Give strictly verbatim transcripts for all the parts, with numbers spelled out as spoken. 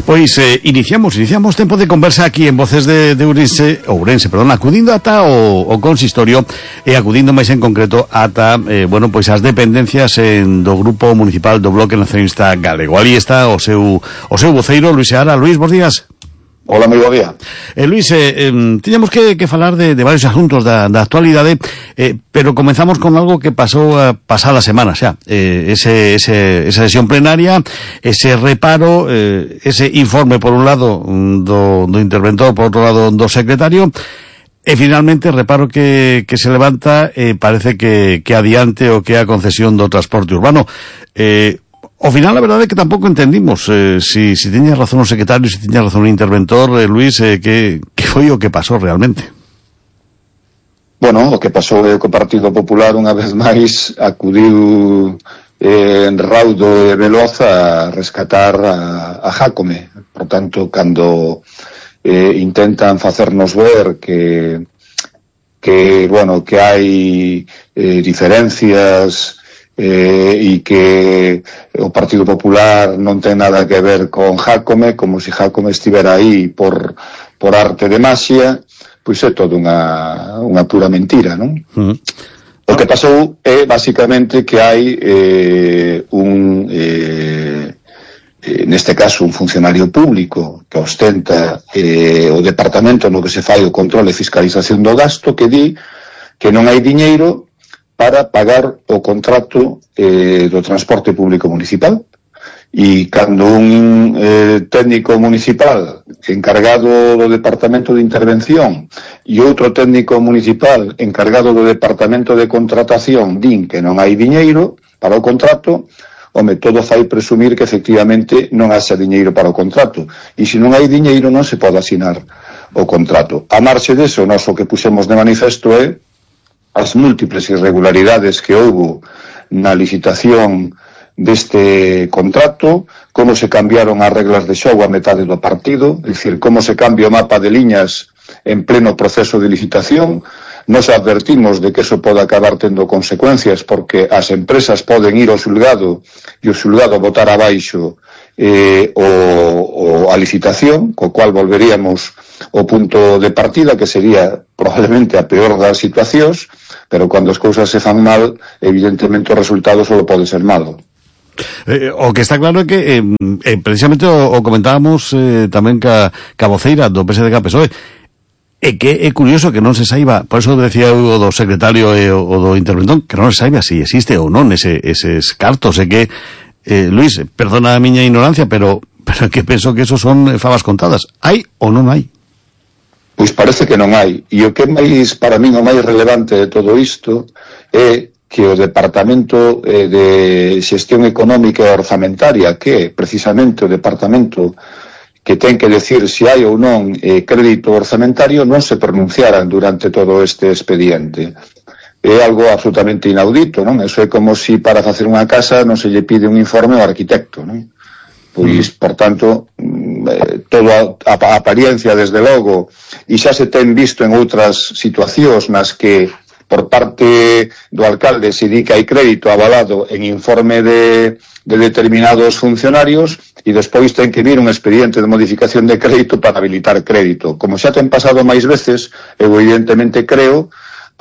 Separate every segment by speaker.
Speaker 1: Pois eh, iniciamos, iniciamos tempo de conversa aquí en Voces de, de Ourense, Ourense, perdón, acudindo ata o, o consistorio e acudindo máis en concreto ata, eh, bueno, pois as dependencias en, do Grupo Municipal do Bloque Nacionalista Galego. Ali está o seu, o seu voceiro, Luis Seara. Luis, bons días.
Speaker 2: Hola, moi bo día.
Speaker 1: Eh, Luis, eh, eh, tiñamos que, que falar de, de varios asuntos da, da actualidade, eh, pero comenzamos con algo que pasou a pasada semana xa. Eh, ese, ese, esa sesión plenaria, ese reparo, eh, ese informe por un lado do, do interventor, por outro lado do secretario, e finalmente reparo que, que se levanta, eh, parece que, que adiante o que é a concesión do transporte urbano. Eh, Ao final, a verdade é que tampouco entendimos eh, si, si tiña razón o secretario, si tiña razón o interventor, eh, Luis, eh, que, que foi o que pasou realmente.
Speaker 2: Bueno, o que pasou é que o Partido Popular unha vez máis acudiu eh, en raudo e veloz a rescatar a, a Jácome. Por tanto, cando eh, intentan facernos ver que que, bueno, que hai eh, diferencias Eh, e que o Partido Popular non ten nada que ver con Jácome, como se si Jácome estivera aí por, por arte de maxia, pois é todo unha, unha pura mentira, non? Mm. O que pasou é, basicamente, que hai eh, un, eh, eh, neste caso, un funcionario público que ostenta eh, o departamento no que se fai o control e fiscalización do gasto, que di que non hai diñeiro para pagar o contrato eh, do transporte público municipal. E cando un eh, técnico municipal encargado do departamento de intervención e outro técnico municipal encargado do departamento de contratación din que non hai diñeiro para o contrato, home, todo fai presumir que efectivamente non haxa diñeiro para o contrato. E se non hai diñeiro non se pode asinar o contrato. A marxe deso, nós o que puxemos de manifesto é as múltiples irregularidades que houbo na licitación deste contrato, como se cambiaron as reglas de xogo a metade do partido, é dicir, como se cambia o mapa de liñas en pleno proceso de licitación. Nos advertimos de que eso pode acabar tendo consecuencias, porque as empresas poden ir ao xulgado e o xulgado botar abaixo eh, o, o, a licitación, co cual volveríamos ao punto de partida, que sería probablemente a peor das situacións, pero cando as cousas se fan mal, evidentemente o resultado só pode ser malo.
Speaker 1: Eh, o que está claro é que eh, eh, precisamente o, o comentábamos eh, tamén ca, ca voceira do P S D C P S O E, é que é curioso que non se saiba, por eso decía o do secretario e o, o do interventor, que non se saiba se si existe ou non ese, eses cartos, e que eh, Luis, perdona a miña ignorancia, pero pero que penso que eso son favas contadas. Hai ou non hai?
Speaker 2: Pois parece que non hai. E o que é máis, para min, o máis relevante de todo isto é que o Departamento eh, de Xestión Económica e Orzamentaria, que é precisamente o departamento que ten que decir se hai ou non eh, crédito orzamentario, non se pronunciaran durante todo este expediente. É algo absolutamente inaudito, non? Eso é como se si para facer unha casa non se lle pide un informe ao arquitecto, non? Pois, por tanto, eh, toda a apariencia, desde logo, e xa se ten visto en outras situacións nas que por parte do alcalde se di que hai crédito avalado en informe de, de determinados funcionarios e despois ten que vir un expediente de modificación de crédito para habilitar crédito. Como xa ten pasado máis veces, eu evidentemente creo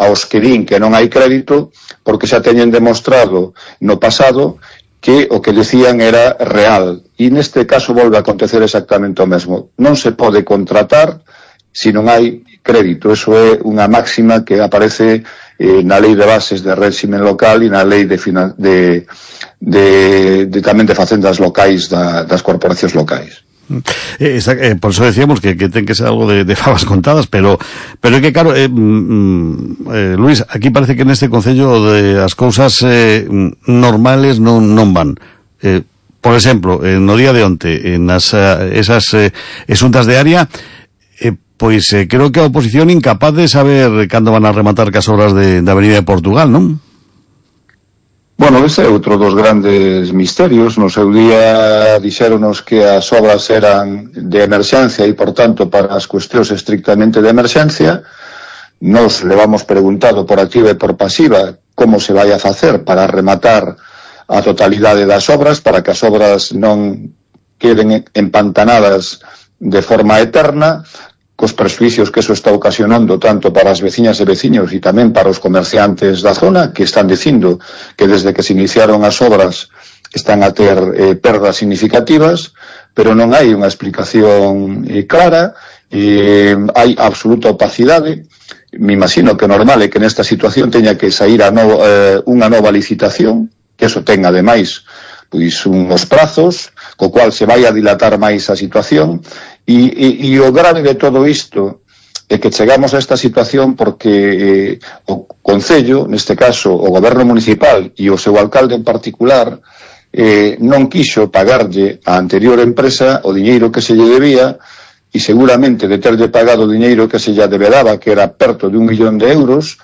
Speaker 2: aos que din que non hai crédito porque xa teñen demostrado no pasado que o que decían era real. E neste caso volve a acontecer exactamente o mesmo. Non se pode contratar se non hai crédito. Eso é unha máxima que aparece eh, na lei de bases de réximen local e na lei de, de, de, de tamén de facendas locais da, das corporacións locais.
Speaker 1: Eh, eh, por eso decíamos que, que ten que ser algo de, de favas contadas, pero pero é que claro, eh, mm, eh, Luis, aquí parece que neste concello de as cousas eh, normales non, non van. Eh, por exemplo, eh, no día de onte, en as, esas eh, exuntas de área, eh, pois eh, creo que a oposición incapaz de saber cando van a rematar cas obras de, de Avenida de Portugal, non?
Speaker 2: Bueno, ese é outro dos grandes misterios. No seu día dixéronos que as obras eran de emerxencia e, por tanto, para as cuestións estrictamente de emerxencia. Nos levamos preguntado por activa e por pasiva como se vai a facer para rematar a totalidade das obras, para que as obras non queden empantanadas de forma eterna, cos presuicios que eso está ocasionando tanto para as veciñas e veciños e tamén para os comerciantes da zona, que están dicindo que desde que se iniciaron as obras están a ter eh, perdas significativas, pero non hai unha explicación eh, clara, eh, hai absoluta opacidade. Me imagino que normal é que nesta situación teña que sair a no, eh, unha nova licitación, que eso ten ademais pois uns prazos, co cual se vai a dilatar máis a situación, e, e, e o grave de todo isto é que chegamos a esta situación porque eh, o Concello, neste caso o Goberno Municipal e o seu alcalde en particular, eh, non quixo pagarlle á anterior empresa o diñeiro que se lle debía, e seguramente de terlle pagado o diñeiro que se lle deberaba, que era perto de un millón de euros,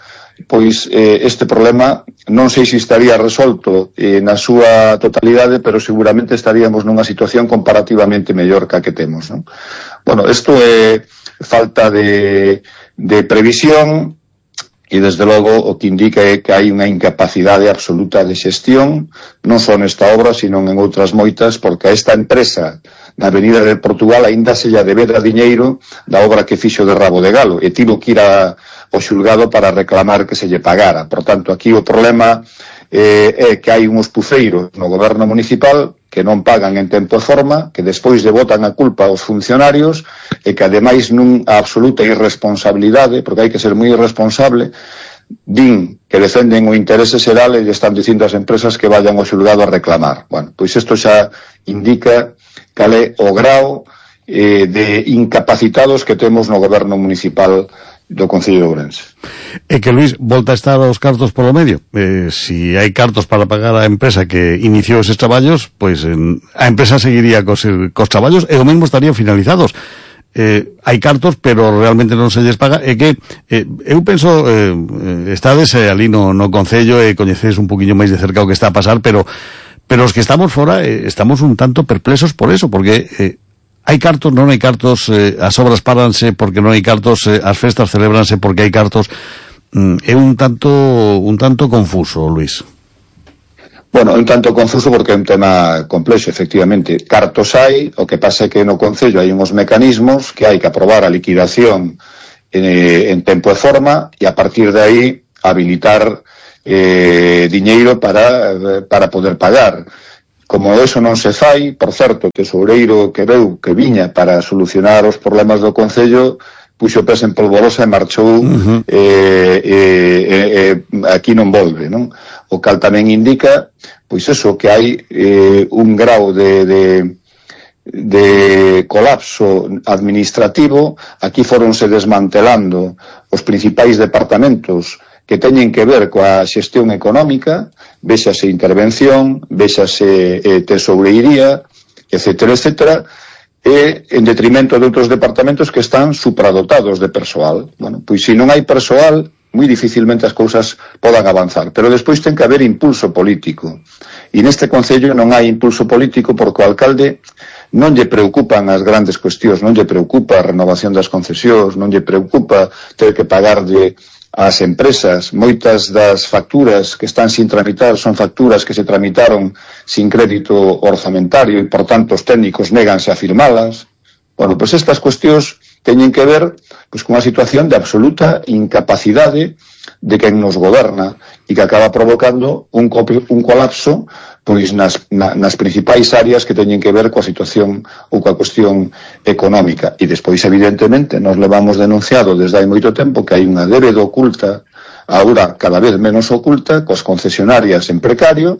Speaker 2: pois eh, este problema non sei se estaría resolto eh, na súa totalidade, pero seguramente estaríamos nunha situación comparativamente mellor que a que temos, non? Bueno, isto é falta de, de previsión, e desde logo o que indica é que hai unha incapacidade absoluta de xestión, non só nesta obra, sino en outras moitas, porque a esta empresa na Avenida de Portugal aínda se lla debera diñeiro da obra que fixo de Rabo de Galo, e tivo que ir a o xulgado para reclamar que se lle pagara. Por tanto, aquí o problema eh, é que hai uns pufeiros no goberno municipal que non pagan en tempo e forma, que despois lle botan a culpa aos funcionarios, e que ademais nunha absoluta irresponsabilidade, porque hai que ser moi irresponsable, din que defenden o interese xeral e lle están dicindo ás empresas que vayan ao xulgado a reclamar. Bueno, pois isto xa indica cal é o grao eh, de incapacitados que temos no goberno municipal do Concello de Ourense.
Speaker 1: É que, Luís, volta a estar aos cartos polo medio. Eh, si hai cartos para pagar a empresa que iniciou eses traballos, pois eh, a empresa seguiría cos, cos traballos e o mesmo estarían finalizados. Eh, hai cartos, pero realmente non se lles paga. É que eh, eu penso, eh, estades eh, ali no, no Concello e coñecedes un poquinho máis de cerca o que está a pasar, pero pero os que estamos fora eh, estamos un tanto perplexos por eso, porque eh, hai cartos, non hai cartos, eh, as obras paranse porque non hai cartos, eh, as festas celebranse porque hai cartos. Mm, é un tanto un tanto confuso, Luís.
Speaker 2: Bueno, un tanto confuso porque é un tema complexo, efectivamente. Cartos hai, o que pasa é que no Concello hai uns mecanismos que hai que aprobar a liquidación eh, en tempo e forma, e a partir de aí habilitar eh, diñeiro para, para poder pagar. Como eso non se fai, por certo, o tesoureiro que veu que viña para solucionar os problemas do Concello puxo pés en polvorosa e marchou, uh-huh. eh, eh, eh, aquí non volve, non? O cal tamén indica, pois eso, que hai eh, un grau de, de, de colapso administrativo. Aquí foronse desmantelando os principais departamentos que teñen que ver coa xestión económica, véxase intervención, véxase eh, tesoureiría, etcétera, etcétera, e en detrimento de outros departamentos que están supradotados de persoal. Bueno, pois se non hai persoal, moi dificilmente as cousas podan avanzar, pero despois ten que haber impulso político. E neste Concello non hai impulso político porque o alcalde non lle preocupan as grandes cuestións, non lle preocupa a renovación das concesións, non lle preocupa ter que pagarlle ás empresas. Moitas das facturas que están sin tramitar son facturas que se tramitaron sin crédito orzamentario e, por tanto, os técnicos néganse a firmalas. Bueno, pois estas cuestións teñen que ver pois con unha situación de absoluta incapacidade de quen nos goberna e que acaba provocando un, un colapso pois nas, na, nas principais áreas que teñen que ver coa situación ou coa cuestión económica. E despois, evidentemente, nos levamos denunciado desde hai moito tempo que hai unha débeda oculta, agora cada vez menos oculta, coas concesionarias en precario,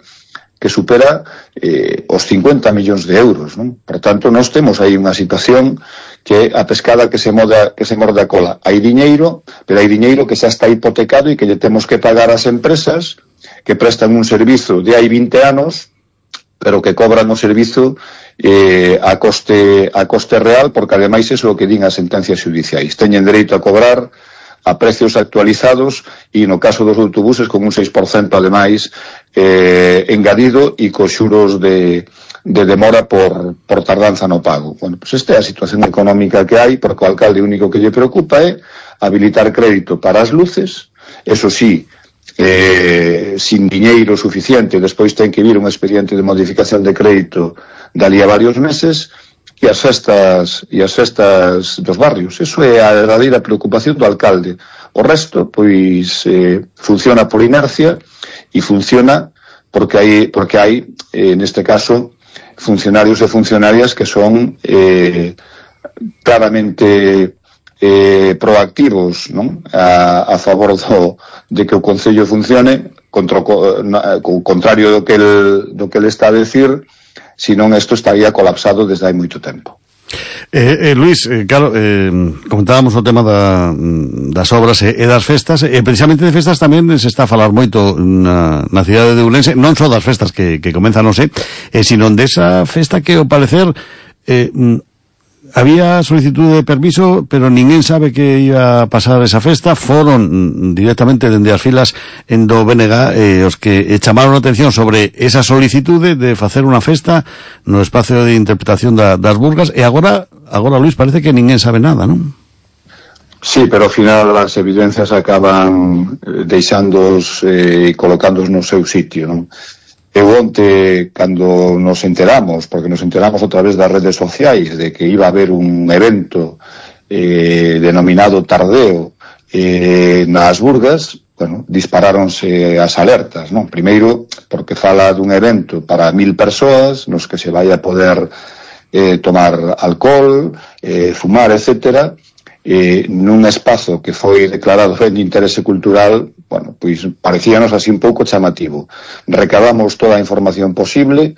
Speaker 2: que supera eh, os cincuenta millóns de euros, non? Por tanto, nós temos aí unha situación que a pescada que se moda, que se morde a cola. Hai diñeiro, pero hai diñeiro que xa está hipotecado e que lle temos que pagar ás empresas que prestan un servizo de hai vinte anos, pero que cobran o servizo eh, a coste a coste real, porque ademais é o que din as sentencias judiciais. Teñen dereito a cobrar a precios actualizados e no caso dos autobuses con un seis por cento ademais eh, engadido e cos xuros de, de demora por, por tardanza no pago. Bueno, pues esta é a situación económica que hai, porque o alcalde único que lle preocupa é habilitar crédito para as luces, eso sí, eh, sin diñeiro suficiente, despois ten que vir un expediente de modificación de crédito dali a varios meses, e as festas e as festas dos barrios. Eso é a verdadeira preocupación do alcalde. O resto, pois, eh, funciona por inercia e funciona porque hai, porque hai eh, neste caso, funcionarios e funcionarias que son eh, claramente eh, proactivos, non? A, a favor do, de que o Concello funcione, contra o, o contrario do que el, do que el está a decir, senón isto estaría colapsado desde hai moito tempo.
Speaker 1: Eh, eh, Luís, eh, claro, eh, comentábamos o tema da, das obras e, e das festas, e precisamente de festas tamén se está a falar moito na, na cidade de Ourense, non só das festas que, que comenzan hoxe, eh, sino desa festa que, ao parecer, eh, había solicitud de permiso, pero ninguén sabe que iba a pasar esa festa. Foron directamente dende as filas en do B N G eh, os que chamaron a atención sobre esa solicitude de facer unha festa no espacio de interpretación da, das Burgas, e agora, agora, Luís, parece que ninguén sabe nada, non?
Speaker 2: Sí, pero ao final as evidencias acaban deixándoos e eh, colocándoos no seu sitio, non? Eu onte, cando nos enteramos, porque nos enteramos a través das redes sociais de que iba a haber un evento eh, denominado Tardeo eh, nas Burgas, bueno, disparáronse as alertas, non? Primeiro, porque fala dun evento para mil persoas, nos que se vai a poder eh, tomar alcohol, eh, fumar, etcétera, eh, nun espazo que foi declarado ben de interese cultural. Bueno, pois parecíanos así un pouco chamativo. Recabamos toda a información posible,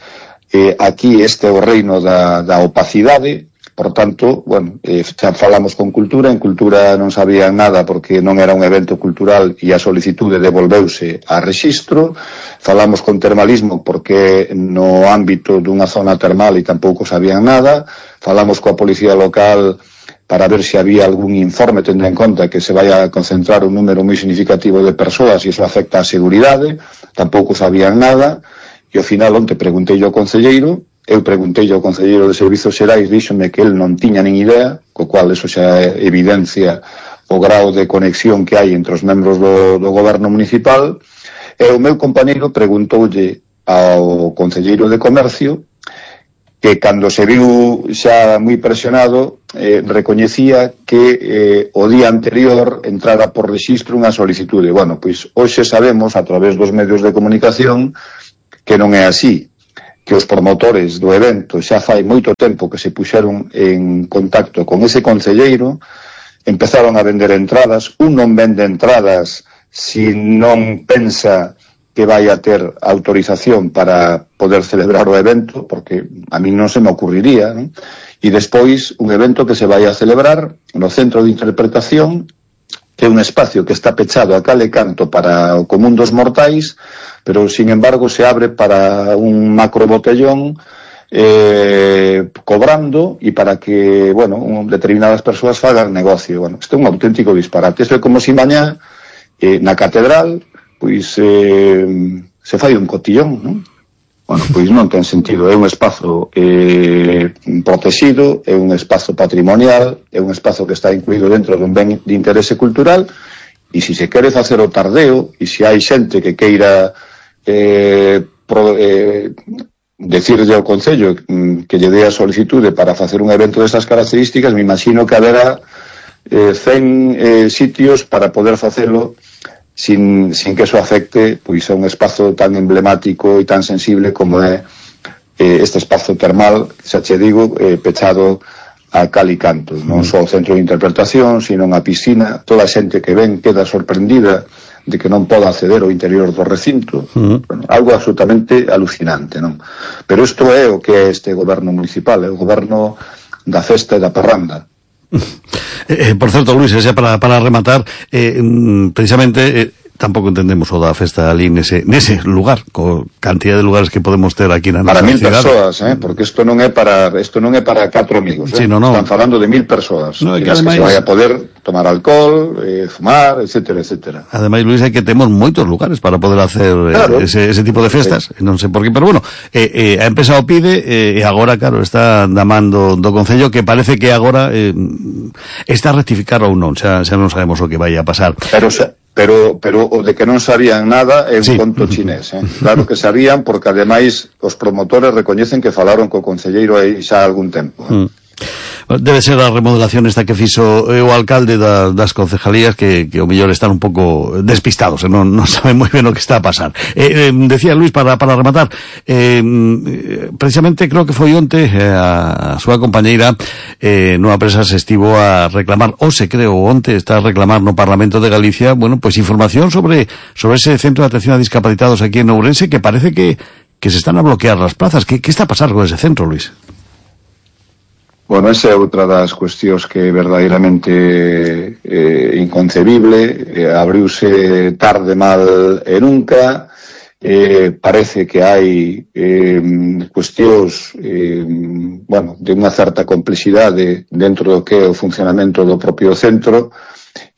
Speaker 2: eh, aquí este é o reino da, da opacidade, por tanto, bueno, eh, xa falamos con Cultura, en Cultura non sabían nada porque non era un evento cultural e a solicitude devolveuse a rexistro. Falamos con Termalismo porque no ámbito dunha zona termal e tampouco sabían nada. Falamos coa Policía Local para ver se había algún informe, tendo en conta que se vai a concentrar un número moi significativo de persoas e iso afecta a seguridade. Tampouco sabían nada, e ao final onte preguntei ao concelleiro, eu preguntei ao concelleiro de Servizos Xerais, díxome que el non tiña nin idea, co cual eso xa evidencia o grau de conexión que hai entre os membros do, do goberno municipal, e o meu compañeiro preguntoulle ao concelleiro de Comercio que cando se viu xa moi presionado eh, recoñecía que eh, o día anterior entrara por rexistro unha solicitude. Bueno, pois hoxe sabemos a través dos medios de comunicación que non é así, que os promotores do evento xa fai moito tempo que se puxeron en contacto con ese concelleiro, empezaron a vender entradas. Un non vende entradas se non pensa que vai a ter autorización para poder celebrar o evento, porque a mí non se me ocurriría, non? E despois un evento que se vai a celebrar no Centro de Interpretación, que é un espacio que está pechado a cal e canto para o común dos mortais, pero sin embargo se abre para un macro botellón eh, cobrando e para que, bueno, un, determinadas persoas fagan negocio. Bueno, isto é un auténtico disparate. Isto é como se mañá eh, na catedral pois eh, se fai un cotillón, non? Bueno, pois non ten sentido. É un espazo eh, protegido, é un espazo patrimonial, é un espazo que está incluído dentro dun ben de interese cultural, e se se quere facer o tardeo, e se hai xente que queira eh, pro, eh, decirlle ao Concello que lle dé a solicitude para facer un evento destas características, me imagino que haberá eh, cen eh, sitios para poder facelo sin, sin que eso afecte pois a un espazo tan emblemático e tan sensible como é eh, este espazo termal, xa che digo, eh, pechado a cal e canto, non só o centro de interpretación, sino a piscina. Toda a xente que ven queda sorprendida de que non poda acceder ao interior do recinto. Uh-huh. Bueno, algo absolutamente alucinante, non? Pero isto é o que é este goberno municipal, é o goberno da festa e da parranda.
Speaker 1: Eh, por certo, Luís, xa para, para rematar, eh, precisamente eh, tampouco entendemos o da festa ali nese, nese lugar, co cantidad de lugares que podemos ter aquí na nosa
Speaker 2: para mil
Speaker 1: cidade.
Speaker 2: Persoas, eh, porque isto non é para isto non é para catro amigos, eh.
Speaker 1: Sí, no, no.
Speaker 2: Están falando de mil persoas,
Speaker 1: no,
Speaker 2: que, ademais, que se vai a poder tomar alcohol, eh, fumar, etcétera, etcétera.
Speaker 1: Ademais, Luís, hai que temos moitos lugares para poder hacer claro. eh, ese, ese tipo de festas, sí. Non sei por qué, pero bueno, eh, eh, a empresa o pide eh, e agora, claro, está damando do Concello que parece que agora eh, está a rectificar ou non, xa, xa non sabemos o que vai a pasar.
Speaker 2: Pero xa pero pero o de que non sabían nada é un
Speaker 1: sí.
Speaker 2: conto chinés, eh? Claro que sabían, porque ademais os promotores recoñecen que falaron co concelleiro aí xa algún tempo, eh?
Speaker 1: Mm. Debe ser a remodelación esta que fixo o alcalde da, das concejalías que, que o mellor están un pouco despistados, eh? non, non saben moi ben o que está a pasar. Eh, eh, decía Luis, para, para rematar, eh, precisamente creo que foi onte eh, a, a súa compañeira eh, nunha presa se estivo a reclamar, ou se creo onte está a reclamar no Parlamento de Galicia, bueno, pues información sobre sobre ese centro de atención a discapacitados aquí en Ourense, que parece que, que se están a bloquear las plazas. ¿Qué, qué está a pasar con ese centro, Luis?
Speaker 2: Bueno, esa é outra das cuestións que é verdadeiramente eh, inconcebible. Eh, abriuse tarde, mal e nunca. Eh, parece que hai eh, cuestións eh, bueno, de unha certa complexidade dentro do que é o funcionamento do propio centro,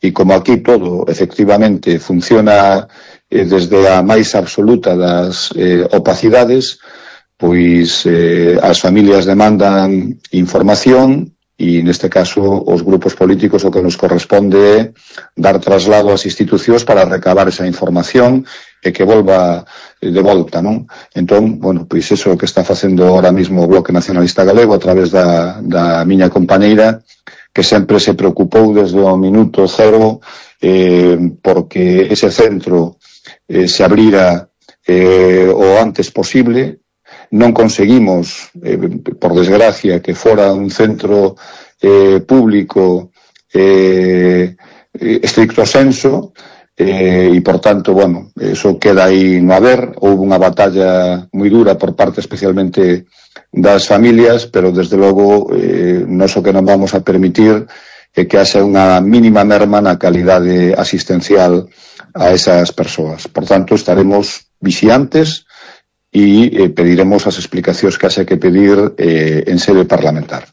Speaker 2: e como aquí todo efectivamente funciona eh, desde a máis absoluta das eh, opacidades, pois eh, as familias demandan información e neste caso os grupos políticos o que nos corresponde é dar traslado ás institucións para recabar esa información e que volva de volta, non? Entón, bueno, pois eso que está facendo ahora mismo o Bloque Nacionalista Galego a través da, da miña compañeira, que sempre se preocupou desde o minuto cero eh, porque ese centro eh, se abrira eh, o antes posible. Non conseguimos, eh, por desgracia, que fora un centro eh, público eh, estricto senso, eh, e, por tanto, bueno, eso queda aí no haber. Houve unha batalla moi dura por parte especialmente das familias, pero, desde logo, eh, non so que non vamos a permitir é que haxa unha mínima merma na calidade asistencial a esas persoas. Por tanto, estaremos vixiantes e eh, pediremos as explicacións que haxe que pedir eh, en sede parlamentar.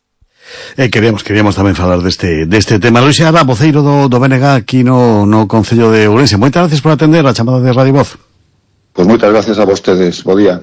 Speaker 1: Eh, queríamos, queríamos tamén falar deste, deste tema. Luis Seara, voceiro do, do B N G aquí no, no Concello de Ourense. Moitas gracias por atender a chamada de Radio Voz.
Speaker 2: Pois moitas gracias a vostedes. Bo día.